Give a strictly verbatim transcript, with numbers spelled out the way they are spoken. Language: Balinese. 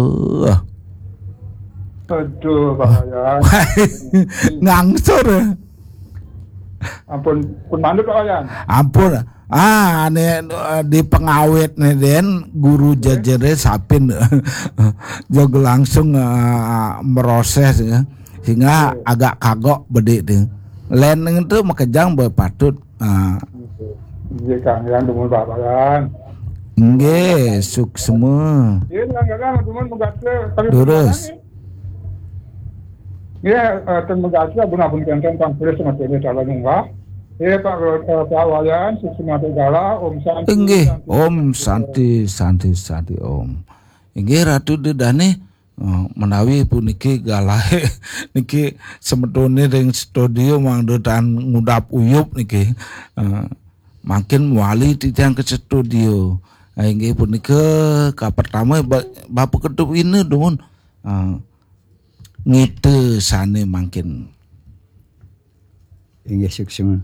Uh, Aduh, Pak Wayan. Ngangsur. Ampun, pun mandut, Pak Wayan. Ampun. Ah, ini eh, di pengawit nih, Den, guru jajere sapin. Jog langsung eh, meroses ya. Sehingga agak kagok bedik deh. Len itu makejang berpatut. Ah, Iya, Kang, yang demen Pak Wayan. Nggih, suksma. Iya, Kang, Kang, demen menggaca. Tapi Terus. Iya, eh, dan menggaca, ampun, ampun, kenten, Kang, terus sama ini calon enggak. Iya, Pak, eh, Pak Wayan, suksma gala, Om Santi. Inggih, Om Santi, Santi, Santi, Om. Inggih, Ratu Dedane, eh, menawi puniki galahe niki semetone ring studio mangda tan ngudap uyup niki. Eh, mangkin wali titiang ke studio. Eh, inggih punika kapertama ba- Bapak Ketua Wina dumun. Eh, ngita sane mangkin. Inggih, suksma.